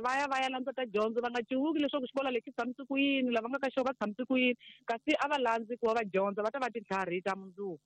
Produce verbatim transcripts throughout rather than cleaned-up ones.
Va ya va ya landza ta dyondzo, va nga cuwuki leswaku xikolo lexi tshamise ku yini, lava nga ka xona va tshamise ku yini, kasi a va landzi ku va va dyondza, va ta va tintlhari ta mundzuku.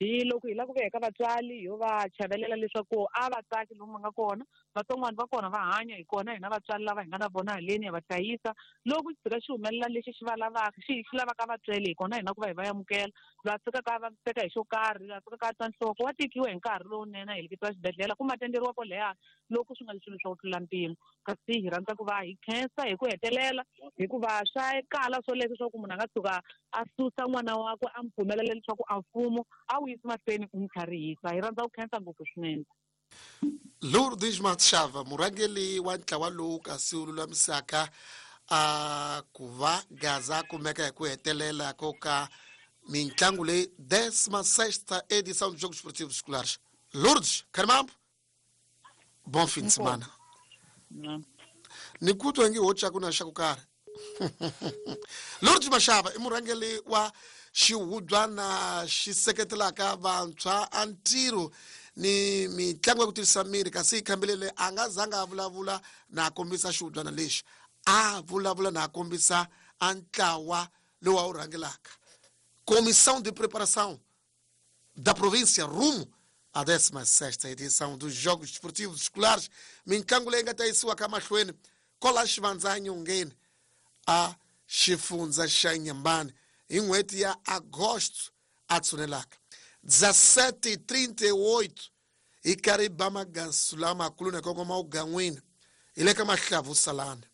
Hi loko hi lava ku veka vatswari ho va chavelela leswaku a va tsaki lomu va nga kona, vatsongwana va kona va hanya hi kona, hina vatswari lava hi nga na vona haleni ya va hlayisa. Loko xi tshika xi humelela lexi xi va lavaka, xi xi lavaka vatswele, hi kona hina ku va hi va amukela. Loyi a tshikaka a vaviseka hi xo karhi, loyi a tshikaka a twa nhloko, wa tekiwa hi nkarhi lowunene a heleketiwa xibedhlele kumbe a tenderiwa kwalaya loko swi nga ri swilo swa ku tlula mpimo. Kasi hi rhandza ku va hi khensa hi ku hetelela, hikuva swa kala swoleswo swa ku munhu a nga tshuka a susa n'wana wakwe a n'wi pfumelela leswaku a mfumo a wu yisi mahlweni u n'wi tlharihisa. Hi rhandza ku khensa ngopfu swinene. Lourdes Mashava, murhangeri wa ntlawa lowu kasi wu lulamisaka a ku va Gaza kumeka hi ku hetelela ko ka mintlangu leyi décima sexta edição dos Jogos Esportivos Escolares. Lourdes, Karimambo, bom fim de semana. Ni ku twa nge ho tsaku na xa ku karhi. Lourdes Mashava i murhangeri wa xihubyana xi seketelaka vantshwa a ntirho ni mitlangu ya ku tirhisa miri, kasi khambelele a nga zanga a vulavula na a kombisa xihubyana lexi, a vulavula na a kombisa a ntlawa lowu a wu rhangelaka, Comissão de Preparação da Província rumo à décima sexta edição dos Jogos Esportivos Escolares, mitlangu leyi nga ta yisiwa ka mahlweni kola Xivandza nyongeni a xifundza xa Nyambani hi n'hweti ya Agosto a tshunelaka dezessete trinta e oito hi karhi ba magansu lamakulu na kongoma ugan'wini hi le ka Mahlavu Salani.